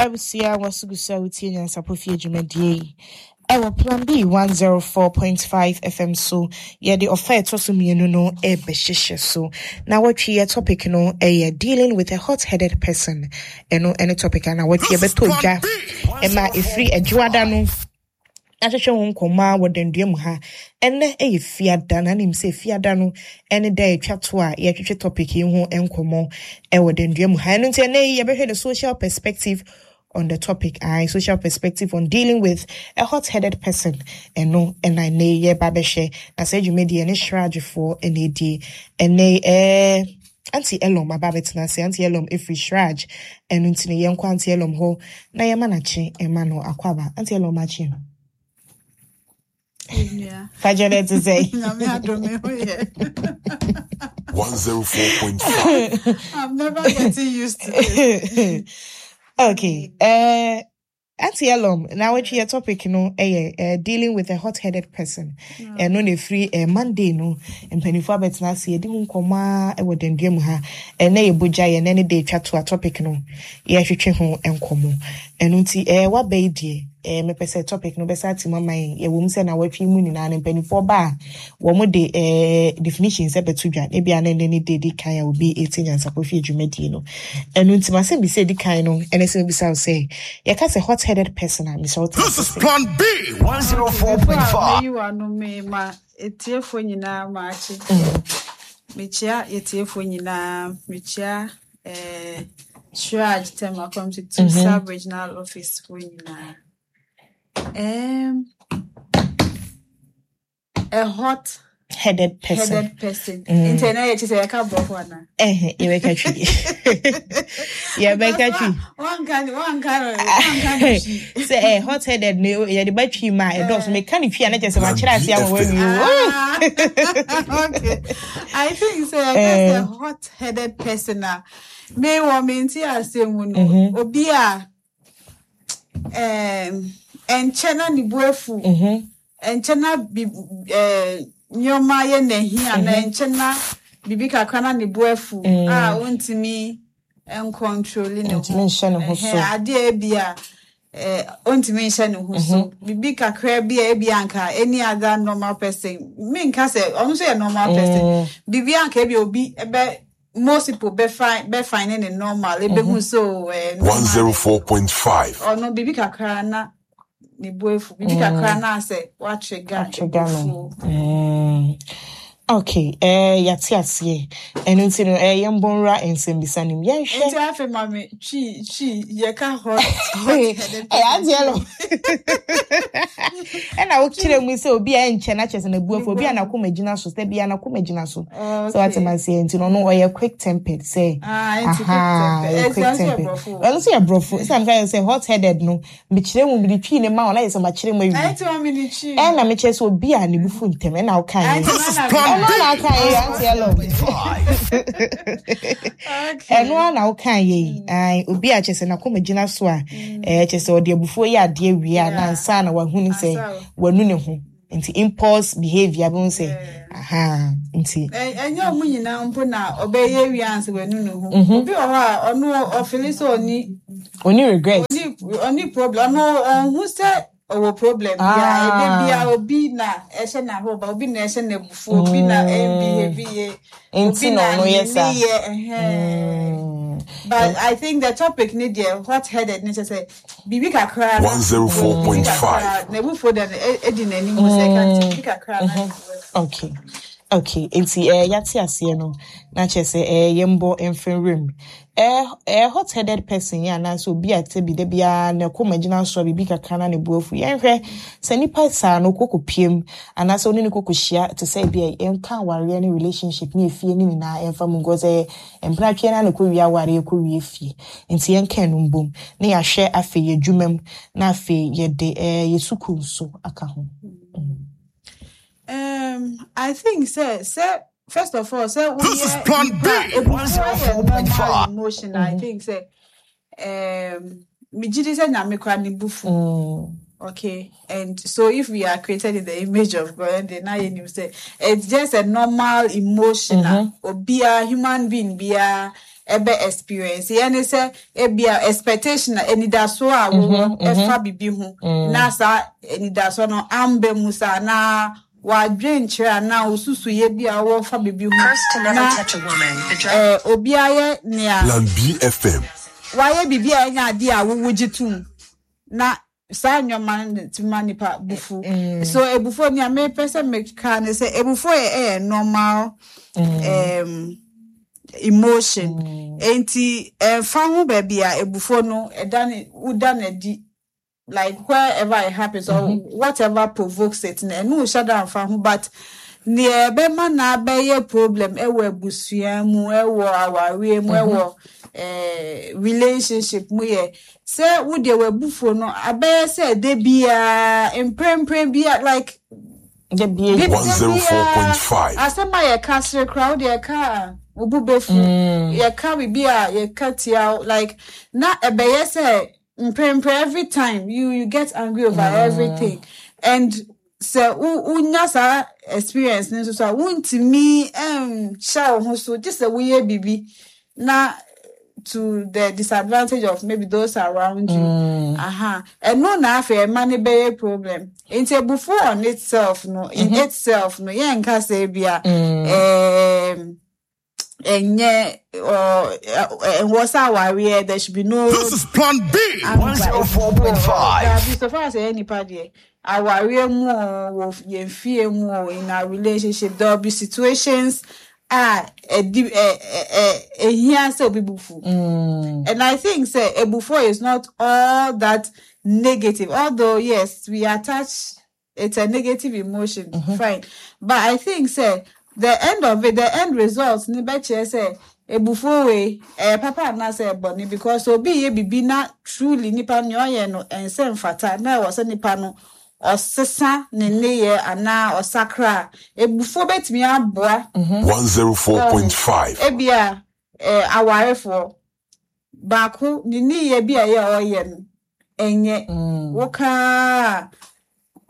Abusua waso gu so a wotie Nyansapɔ Fie dwumadie yi ɛwɔ Plan B 104.5 FM so. Yɛde ɔfa a ɛtɔ so mmienu no ɛrebɛhyehyɛ so. Na wɔtwe yɛ topic no ɛyɛ dealing with a hot-headed person. Ɛno ɛne topic a na wɔtwe yɛbɛtɔ dwa ɛma ɛfiri adwoada no ahwehwɛ ho nkɔmmɔ a wɔ dandua mu ha. Ɛnɛ ɛyɛ fiada na nim sɛ fiada no ɛne da ɛtwa to a yɛtwetwe topic yi ho nkɔmmɔ ɛwɔ dandua mu ha. Ɛno nti ɛnɛ yi yɛbɛhwɛ the social perspective on the topic, I social perspective on dealing with a hot-headed person. Ɛno ɛna ɛnɛ yi yɛba bɛhwɛ na sɛ dwumadie ɛne Shrajfoɔ ɛna ɛdie. Ɛnɛ yi Auntie Elom aba abɛtena ase. Auntie Elom ɛfiri Shraj. Ɛno nti no yɛnkɔ Auntie Elom hɔ na yɛma n'akye ɛma no akwaaba. Auntie Elom akye. Fajɛ dɛ te sɛ. Nyame adom me ho yɛ. 104.5. I'm never getting used to this. Okay. Auntie Elom, now which your topic no dealing with a hot-headed person. Ɛno na ɛfiri Monday no mpanimfoɔ abɛtena ase yɛdi ho nkɔmmɔ a ɛwɔ dandua mu ha. Ɛnɛ yɛ bogya yɛ ɛnɛ ne de atwa to a topic no yɛhwehwɛ ho nkɔmmɔ. Ɛno nti waba yi deɛ mepɛ sɛ topic no bɛsa ate mu ama yɛn. Yɛwɔ mu sɛ na wɔatwe mu nyinaa no mpanimfoɔ ba a wɔn de definitions ɛbɛto dwa. Ebi a na ɛnɛ ne de di kan a obi eti nyansapɔ fie dwumadie no. Ɛno nti masɛm bi sɛ di kan no ɛne sɛ mebisa wo sɛ yɛka sɛ hot-headed person a mesɛ wote This is Plan B 104.5. Meyi w'ano me ma etiefoɔ nyinaa maakye. Mekyia etiefoɔ nyinaa. Mekyia Shraj Tema Community 2 Sub Regional Office foɔ nyinaa. A hot headed person. Headed person. Nti ɛnɛ yɛ kyerɛ sɛ yɛka borɔfo anaa? Yɛbɛka twi. Yɛbɛka twi. Wanka ne twi. Sɛ hot headed no yɛde ba twi ma ɛdɔɔso. Meka ne twi a na kyerɛ sɛ makyerɛ ase ama wawie. Okay. I think sɛ yɛka sɛ hot headed person a me wɔ me nte ase mu no obi a ɛnkyɛ na ne bo afu. Ɛnkyɛ na bi nneɛma yɛ n'ahi ana ɛnkyɛ na biribi kakra na ne bo afu a ontumi ncontrol ne ho. Ntumi nhyɛ ne ho so. Adeɛ ebi a ontumi nhyɛ ne ho so. Biribi kakra bi a ebi anka any other normal person. Menka sɛ ɔno nso yɛ normal person. Biribi anka ebi obi ɛbɛ most people bɛ find ne normal. Ebehu so normal. 104.5. Ɔno biribi kakra na ne bo afu. Biribi kakra na asɛ watrigger Watrigger no. Okay, yɛate aseɛ. Ɛno nti no yɛmbɔ nwura nsɛmbisa no mu. Yɛnhwɛ. Nti afei ma me twi yɛka hot headed. Auntie Elom. Ɛna wokyerɛ mu sɛ obi a ɛnkyɛ na kyerɛ sɛ n'abu afu, obi a n'akoma gyina so, sɛ bia n'akoma gyina so. So wate ma seɛ nti no ɔno ɔyɛ quick tempered sɛ. Nti quick tempered. Ɔyɛ quick tempered. Ɔno nso yɛ borɔfo. Sɛ meka sɛ hot headed no, mekyerɛ mu mede twi ne ma ɔna yɛ sɛ makyerɛ mu awie. Ɛnti ma me ne twi. Ɛna mekyerɛ sɛ obi a ne bo fu ntɛm ɛna woka yɛ. This is Plan Ɛno B na woka yɛ, Auntie Elom. Okay. Ɛno ara na woka yɛ yi. Ai, obi a kyerɛ sɛ n'akoma gyina so a, kyerɛ sɛ ɔde abufuo yɛ adeɛ wie a, na ansa na wahunu sɛ wanu ne ho. Nti impulse behavior bi ho sɛ, aha, nti. Ɛnyɛ ɔmo nyinaa mpo na ɔbɛyɛ wie ansa wanu ne ho. Obi wɔ hɔ a, ɔno ɔfeel sɛ ɔni Ɔni regret. Ɔni problem. Ɔno ɔnhu sɛ ɔwɔ problem bia. Ebe bia obi na ɛhyɛ n'ahoba, obi na ɛhyɛ n'abufuo, obi na ɛnbehave yie. Nti na ɔno yɛ saa. But I think the topic ne deɛ hot headed ne kyerɛ sɛ biribi kakra na 104.5. n'abufuo deɛ no edi n'anim sɛ ɛka nti biribi kakra na Okay. Okay. Nti yɛate aseɛ no na kyerɛ sɛ yɛmbɔ mfimfini. Hot headed person yɛ anaasɛ obi a te bi da biara na kɔma gyina so a biribi kakra na ne bo afu. Yɛnhwɛ sɛ nipa saa no kɔkɔ piem anaasɛ ɔne ne kɔkɔ hyia te sɛ bi a yɛnka awareɛ ne relationship ne efie ne nyinaa yɛmfa mu nkɔ sɛ mpratwe na ne kɔ wie awareɛ kɔ wie fie. Nti yɛnka no mbom na yɛahwɛ afei yɛ adwuma mu na afei yɛde yɛ sukuu nso aka ho. I think sɛ first of all sɛ This is Plan B 104.5 emotion. I think sɛ megye di sɛ Nyame kora ne bo fu. Okay, and so if we are created in the image of God, and then now you say it's just a normal emotion. Obia human being bia ɛbɛ experience yɛ ne sɛ ebia expectation a anidasoɔ a wowɔ ɛfa bibi ho na saa anidasoɔ no amba mu saa na wadwenkyerɛ anaa osusuyɛ bi a wɔwɔ fa bibi ho First to never na touch a woman. The driver. obi ayɛ nea Plan B FM. wayɛ biribi a ɛnyɛ adeɛ a wowo gye tom na saa nneɛma no tumi ma nipa bufu. So ebufuo nea mepɛ sɛ meka ne sɛ ebufuo yɛ ɛyɛ normal emotion. Enti ɛmfa ho baabi a ebufuo no ɛda ne woda n'adi, like wherever it happens or whatever provokes it no, ɛno nhyɛ da mfa ho, but nea ɛbɛma na abɛyɛ problem ɛwɔ abusua mu, ɛwɔ awareɛ mu, ɛwɔ relationship mu yɛ sɛ wodeɛ w'abufuo no abɛyɛ sɛ de biara mprempren bia, like Da bia. bi 104.5. Asɛm a yɛka sere koraa, wode yɛka a wo bo bɛfu, yɛka biribi a yɛka tia wo, like na ɛbɛyɛ sɛ mprempren every time you get angry over everything, and sɛ wo wonya saa experience no nso so a, wontumi nhyɛ wo ho so gye sɛ woyɛ biribi na to the disadvantage of maybe those around you. Aha. Ɛno na afei ɛma ne bɛyɛ problem. Nti ebufuo on itself no, in itself no, yɛnka sɛ ebia ɛnyɛ or ɛwɔ sɛ awareɛ there should be no This is Plan B. anger. 104.5. Dabi, so far as ɛyɛ nipa deɛ, awareɛ mu o, wɔ yɛn fie mu o, in our relationship there will be situations a ɛdi ɛ ɛ ɛ ehia sɛ obi bufu. And I think sɛ ebufuo is not all that negative, although yes, we attach it's a negative emotion, fine. But I think sɛ the end of it, the end result ne bɛkyerɛ sɛ ebufuo wei ɛyɛ papa anaasɛ ɛbɔne, because obi yɛ bibi na truly nipa nea ɔyɛ no ɛnsɛ mfata na ɛwɔ sɛ nipa no ɔsesa ne nneyɛ anaa ɔsakra a, ebufuo bɛtumi aboa. 104.5. Ebia awarefoɔ baako ne nneyɛ bi a ɛyɛ a ɔyɛ no ɛnyɛ wokaa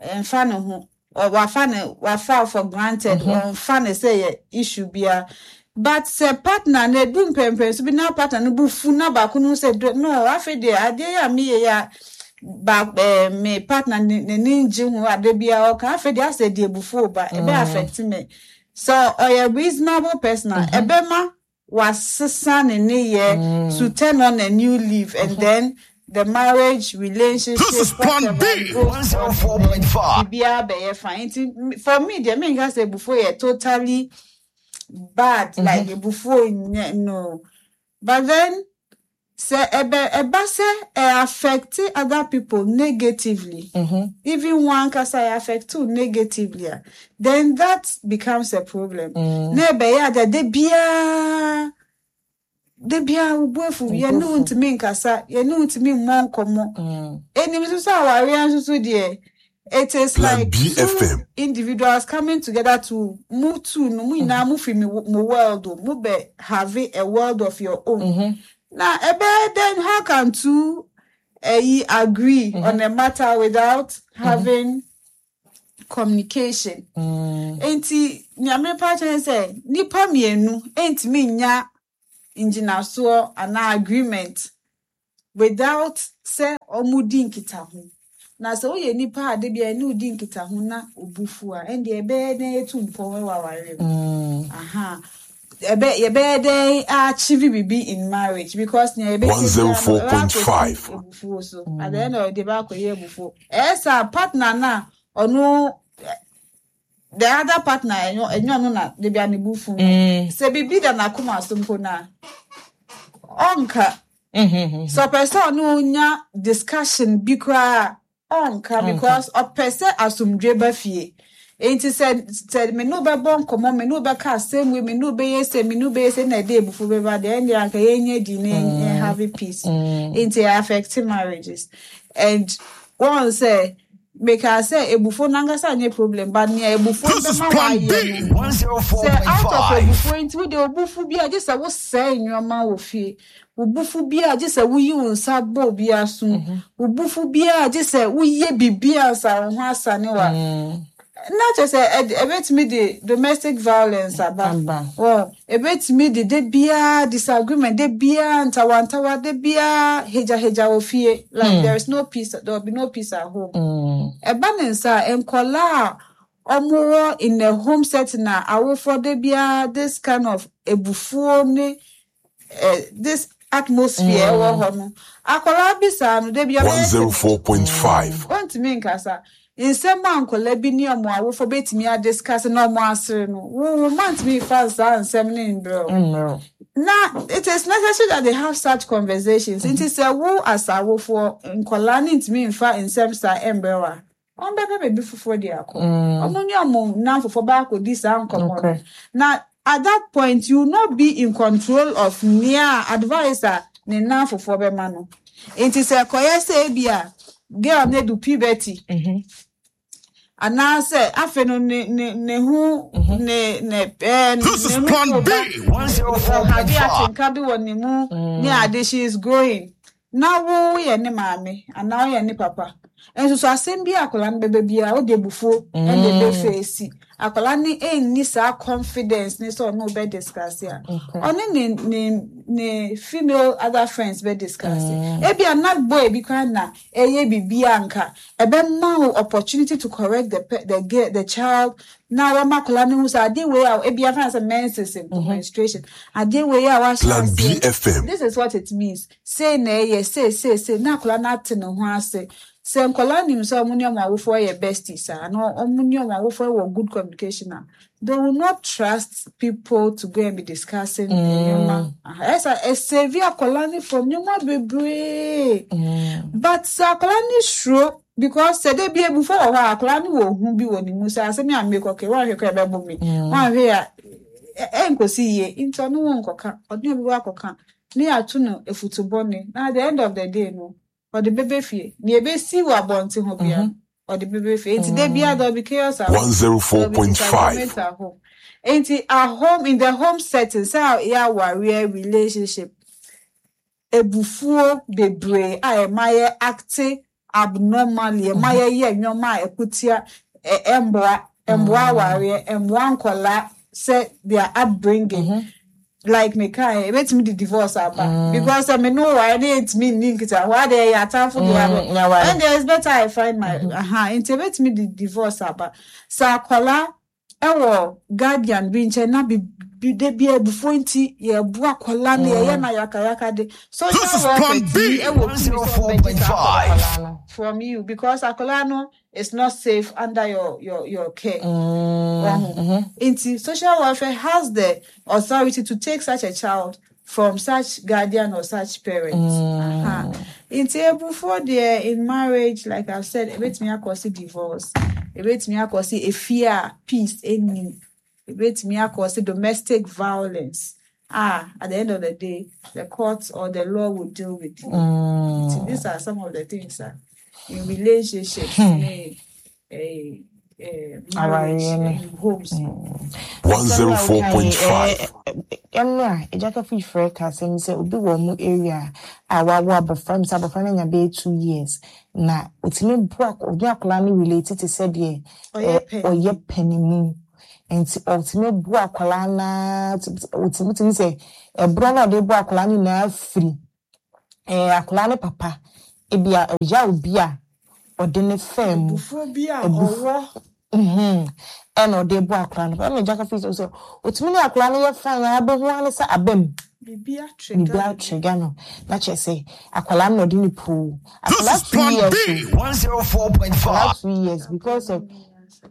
ɛmfa ne ho, wafa ne wafa for granted, ɔmfa ne sɛ yɛ issue bia, but sɛ partner no edu mpɛmpɛn so bi na partner no bu fu na baako no sɛ no, afei deɛ adeɛ yi a meyɛ yi a ba me partner ne n'ani ngye ho ade bia ɔka, afei deɛ asɛ deɛ ebufuo ba ɛbɛ affect me. So ɔyɛ reasonable person a, ɛbɛma wasesa ne nneyɛ to turn on a new leaf, and then the marriage relationship, This is Plan whatever B. goes on, 104.5. biribiara bɛyɛ fine. Nti for me deɛ, menka sɛ ebufuo yɛ totally bad, like ebufuo nyɛ no, but then sɛ ɛbɛ ɛba sɛ ɛ affect other people negatively, even one kasa ɛ affect you negatively a, then that becomes a problem na ɛbɛyɛ ade de biara de biara wo bo afu, yɛne wo ntumi nkasa, yɛne wo ntumi mmɔ nkɔmmɔ. Enim nso sɛ awareɛ nso so deɛ, it is Plan like B two FM. individuals coming together to move to no mu nyinaa mo fi mo world o, mo bɛ have a world of your own. Na ɛbɛyɛ then how can two ɛyi agree on a matter without having communication? Nti nea mepa kyerɛ sɛ nipa mmienu ntumi nya ngyinasoɔ anaa agreement without sɛ ɔmo di nkitaho. Na sɛ woyɛ nipa a de bia ɛne wodi nkitaho na obufu a, ɛndeɛ ɛbɛyɛ dɛn etu mpɔn wɔ awareɛ mu? Aha, ɛbɛ yɛbɛyɛ dɛn achieve bibi in marriage? Because nea yɛbɛyɛ biara no, ɛbɛ 104.5. akɔsi ebufuo so. At the end of the day, ɛbɛ akɔyɛ ebufuo. Ɛyɛ sɛ partner na ɔno the other partner ɛnyɛ ɔno na de bia ne bufu no, sɛ bibi da n'akoma so mpo na ɔnka, sɛ ɔpɛ sɛ ɔno nya discussion bi koraa a, ɔnka, because ɔpɛ sɛ asomdwe ba fie. Nti sɛ me ne wo bɛbɔ nkɔmmɔ, me ne wo bɛka asɛm wei, me ne wo bɛyɛ sɛ me ne wo bɛyɛ sɛ na ɛde ebufu bɛba deɛ, ɛndeɛ anka yɛnyɛ di na yɛn have peace. Nti ɛ affect marriages, and wɔn sɛ meka sɛ ebufuo nankasa nyɛ problem, but nea ebufuo This is bɛma Plan wayɛ B. no, sɛ out of 104.5. ebufuo nti wode obufu bi a gye sɛ wosɛe nneɛma wɔ fie, obufu bi a gye sɛ woyi wo nsa bɔ obi aso, obufu bi a gye sɛ woyɛ biribi a nsa wo ho asane wa. Na kyerɛ sɛ ɛbɛtumi de domestic violence aba. Aba. Well, ɛbɛtumi de biara disagreement, de biara ntawantawa, de biara hegyahegya wɔ fie. Like there is no peace, there will be no peace at home. Ɛba ne nsa a, nkɔlaa a ɔmowɔ in a home setting a awofoɔ de biara this kind of ebufuo ne this atmosphere ɛwɔ hɔ no, akɔlaa bi saa no, de biara ɔbɛyɛ timid. 104.5. Ɔntumi nkasa. Nsɛm a nkɔlaa bi ne ɔmo awofo betumi adiscuss na ɔmo asere no, wo ma ntumi nfa saa nsɛm ne mbrɛ o. Mmerɛ. Na it is necessary that they have such conversations. Nti sɛ wo as awofoɔ, nkɔlaa ne ntumi nfa nsɛm saa mbrɛ wo a, ɔmo bɛpɛ baabi foforɔ de akɔ. Ɔmo ne ɔmo nnamfofoɔ baakɔdi saa nkɔmmɔ no. Na at that point, you will not be in control of nea advice a ne nnamfofoɔ bɛma no. Nti sɛ kɔyɛ sɛ ebi a girl no edu puberty, anaasɛ afei no ne ho ne This is ne Plan ho B. ba ɔhade 104.5. atenka bi wɔ ne mu ne ade, she is growing, na wo yɛ ne maame anaa woyɛ ne papa nso so, asɛm bi a akwadaa no bɛbɛ biara, wode abufuo ɛna ɛbɛfeesi akwadaa no, ɛnni saa confidence ne sɛ ɔno bɛ discuss a, ɔne ne female other friends bɛ discuss. Ebi a na boy bi koraa na ɛyɛ biribi a nka ɛbɛma wo opportunity to correct the girl, the child, na wɔma akwadaa no hu sɛ adeɛ wei a ebi afa sɛ menses mpo, menstruation, adeɛ wei a wahyɛ Plan aseɛ, BFM. this is what it means, sei na ɛyɛ, sei sei sei, na akwadaa no ate ne ho ase sɛ nkwadaa nim sɛ ɔmo ne ɔmo awofoɔ yɛ besties a, na ɔmo ne ɔmo awofoɔ wɔ good communication a, they will not trust people to go and be discussing nneɛma. Ɛsɛ ɛsave akwadaa no from nneɛma bebree. But sɛ akwadaa no suro, because sɛ de bi ebufo wɔ hɔ a, akwadaa no wɔ hu bi wɔ ne mu sɛ asɛm yi a mmekɔ kɛ wɔahwɛ kɔ ɛbɛbɔ mi, wɔahwɛ a ɛnkosi yie, nti ɔno wɔn nkɔka, ɔde obi wɔ akɔka ne yɛato no efutu bɔne, na at the end of the day no, ɔde bɛbɛ fie, nea ebesi wɔ abɔnten hɔ bia, ɔde bɛbɛ fie. Nti de bia there will be chaos at home, there will be 104.5. disagreement at home. Nti at home, in the home setting, sɛ yɛ awareɛ, relationship, ebufuo bebree a ɛma yɛ act abnormally, ɛma yɛyɛ nneɛma a ɛkutia ɛmboa awareɛ, ɛmboa nkɔlaa sɛ their upbringing. Like me kan, ebetumi de divorce aba, because sɛ me no ware ne yɛntumi nni nkita hɔ ade, ɛyɛ atamfo de aba, Yaware. and there is better I find my aha. Nti ebetumi de divorce aba sɛ akɔlaa ɛwɔ guardian bi nkyɛn na bi de bi ebufuo nti yɛbu akɔlaa no, yɛyɛ na yakayaka de social This is welfare Plan tumi B. ɛwɔ tumi sɛ ɔbɛgye saa akɔlaa 104.5. no from you, because akɔlaa no is not safe under your care. Wahu. Nti social welfare has the authority to take such a child from such guardian or such parent. Aha. Nti ebufuo deɛ, in marriage, like I've said, ebetumi akɔsi divorce, ebetumi akɔsi efie a peace enni, ebetumi akɔsi domestic violence. Ah, at the end of the day, the courts or the law will deal with you. Nti these are some of the things that in relationships, ne, marriage, Awareɛ ne. in homes. 104.5. Ɛno a ɛgya kafo frɛ ka asɛm sɛ obi wɔ ɔmo area a wawo abɔfra mi sɛ abɔfra no anya bɛyɛ 2 years na otumi bu obi akwadaa no relate te sɛ deɛ Ɔyɛ panyin. Ɔyɛ panimu, nti ɔtumi bu akwadaa naa, ɔtumi tumi sɛ ɛborɔ na ɔde bu akwadaa no nyinaa firi akwadaa no papa ebi a ɔya obi a ɔde ne fɛn mu. Ebufuo bi a ɔwɔ. Ɛna ɔde bu akwadaa no, ɛna ɛgya kafo sɛ otumi ne akwadaa no yɛ fine a, abɛhu ano sɛ abam. Biribi biribi atrigger. Atrigger no na kyerɛ sɛ akwadaa no na ɔde ne poo This akwadaa is two Plan years B. o, akwadaa 104.5. 2 years, because of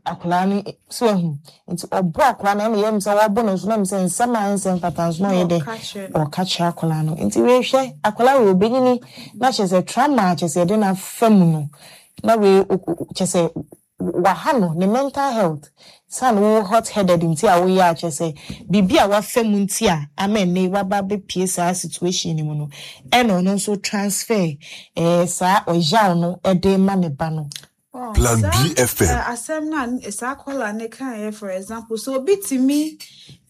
akwadaa no so ehu nti ɔbɔ akwadaa no, ɛna yɛm sɛ wɔbɔ no nso na m sɛ nsɛm a nsɛm fata nso na ɔyɛ dɛ Ɔka kyerɛ no. Ɔka kyerɛ akwadaa no. Nti wehwɛ akwadaa wei, obenyini na kyerɛ sɛ trauma a kyerɛ sɛ yɛde no afa mu no na wei kyerɛ sɛ waha no ne mental health san wo hot headed nti a woyɛ a kyerɛ sɛ biribi a wafa mu nti a ama ɛnɛ waba abɛpie saa situation no mu no, ɛna ɔno nso transfer saa ɔyaw no ɛde ma ne ba no. Oh, Plan saa BFM. Asɛm no a saa caller ne kaeɛ, for example, so obi tumi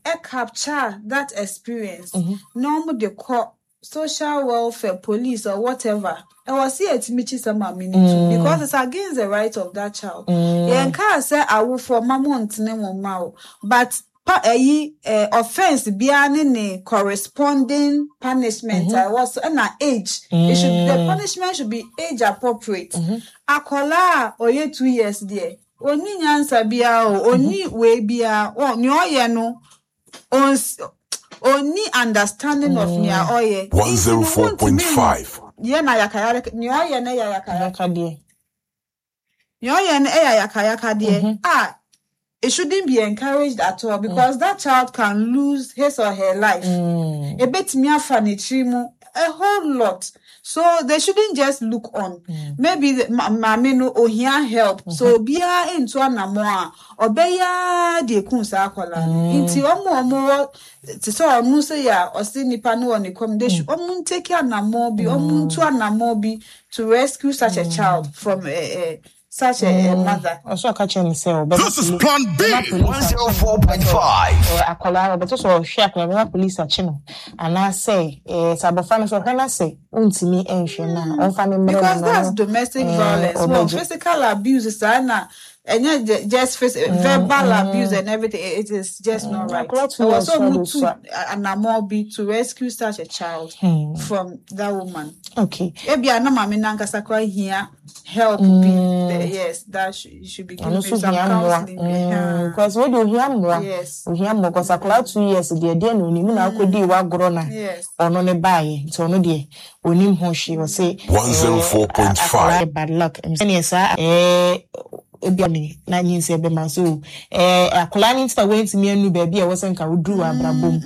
ɛ capture that experience na ɔmo de kɔ. Social welfare, police or whatever, ɛwɔ sɛ yɛtumi kyi sɛ maame no tu because it's against the right of that child. Yɛnkaa sɛ awofoɔ ma mo ntene mo mma o, but pa ɛyi offence biara ne ne corresponding punishment a ɛwɔ so, ɛna age, it should the punishment should be age appropriate. Akwadaa a ɔyɛ 2 years deɛ, onni nyansa biara o, onni wei biara ɔ, nea ɔyɛ no onni understanding of nea ɔyɛ. Nti no, wontumi 104.5. yɛ na yakayaka, nea ɔyɛ no yɛ yakayaka. Yakadeɛ. Nea ɔyɛ no yɛ yakayakadeɛ a it shouldn't be encouraged at all because that child can lose his or her life. Ebetumi afa n'akyiri mu a whole lot, so they shouldn't just look on. Maybe the maame no ohia help, so obiara ntu anamɔ a ɔbɛyɛ de ekum saa akwadaa no. Nti ɔmo a ɔmo wɔ te sɛ ɔno sɛ yɛ a ɔsi nipa no wɔ ne kɔm, they should ɔmo ntake anamɔ bi, ɔmo ntu anamɔ bi to rescue such a child from such a mother. Ɔsɛ ɔka kyerɛ no sɛ ɔbɛma This is Plan B. Bɛma police akye no. 104.5. Akwadaa no ɔbɛtɔ sɛ ɔhwɛ akwadaa no, bɛma police akye no, anaasɛ sɛ abɔfra no sɛ ɔhwɛ no sɛ ɔntumi nhwɛ no a, ɔmfa ne mmerɛ no. Because na that's ɔno, domestic violence. Well, ɔbɛgye. Physical abuse saa na ɛnyɛ just verbal abuse and everything. It is just not right. Akwadaa 2 Ɛwɔ years sɛ ɔmo ɔde tu sua. Anamɔ bi to rescue such a child from that woman. Ebia na maame nankasa koraa hia help bi. Yes, that should be Ɔno given nso some hia mmoa. counseling bi. Because wei de ohia mmoa. Ohia mmoa because akwadaa 2 years deɛ, deɛ na onim na akɔdii wagorɔ na ɔno ne baayɛ, nti ɔno deɛ onim ho hwee. Ɔsɛ 104.5. Akwadaa bad luck sɛneɛ saa ebi ne na nyinsɛ bɛma so akwadaa no nti na wɔntumi anu baabi a ɛwɔ sɛ nka woduru wɔ abrabɔ mu.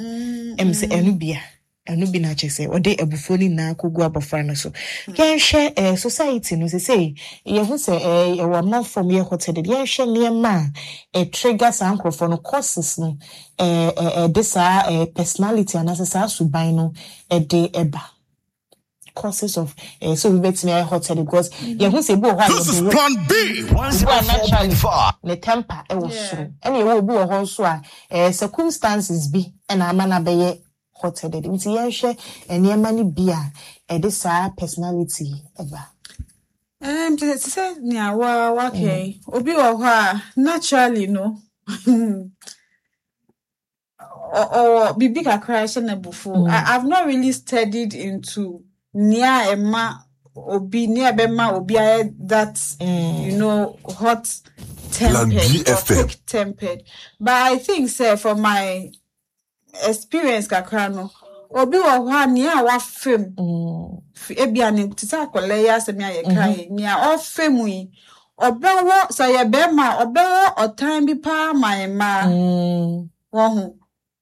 Ɛm sɛ ɛno bia ɛno bi na kyerɛ sɛ ɔde abufuo no nyinaa kɔgu abɔfra no so. Yɛnhwɛ society no sesei, yɛhu sɛ ɛwɔ amanfoɔ mu yɛ hot-headed. Yɛnhwɛ nneɛma a ɛtrigger saa nkurɔfoɔ no, causes no ɛde saa personality anaasɛ saa suban no ɛde ɛba, causes of sɛ obi bɛtumi ayɛ hot-headed, because yɛhu sɛ ebi wɔ hɔ a This is yɛde wo Plan B. obi a naturally 104.5. ne temper ɛwɔ soro, ɛna ɛwɔ obi wɔ hɔ nso a circumstances bi ɛna ama no abɛyɛ hot-headed. Nti yɛnhwɛ nneɛma no bi a ɛde saa personality ɛba. Te sɛ nea waka yi, obi wɔ hɔ a naturally no ɔwɔ biribi kakra ɛhyɛ n'abufuo. I've not really studied into nea ɛma obi, nea ɛbɛma obi ayɛ that hot Plan tempered B or FM. quick tempered, but I think sɛ from my experience kakra no, obi wɔ hɔ a nea wafam ebia ne te sɛ akwadaa yi asɛm a yɛka yi, nea ɔfam mu yi, ɔbɛwɔ sɛ ɔyɛ bɛrima a, ɔbɛwɔ ɔtan bi paa ma mmaa wɔn ho.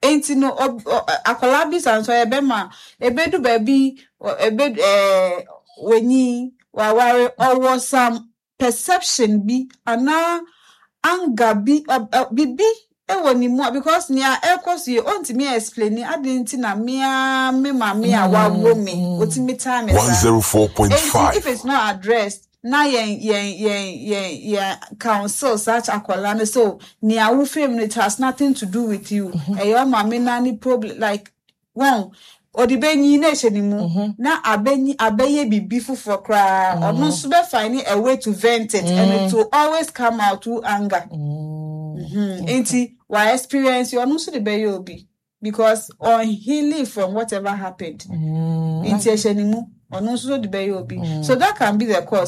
Nti no akwadaa bi sa nso ɔyɛ bɛrima a, ebedu baabi ebe w'enyi waware, ɔwɔ some perception bi anaa anger bi bibi ɛwɔ ne mu a, because nea ɛkɔ so yi, ɔntumi explain adi nti na mmea me maame a wawo me otumi taa me saa. Enti if 104.5. it's not addressed na yɛn counsel such akwadaa no so nea wofam no, it has nothing to do with you, ɛyɛ ɔmaame na ne problem, like wɔn ɔde bɛnyi na ɛhyɛ ne mu na abɛnyi abɛyɛ biribi foforɔ koraa, ɔno nso bɛ find a way to vent it and it will always come out through anger. Nti wa experience, ɔno nso de bɛyɛ obi because on healing from whatever happened, nti ɛhyɛ ne mu, ɔno nso de bɛyɛ obi. So that can be the cause.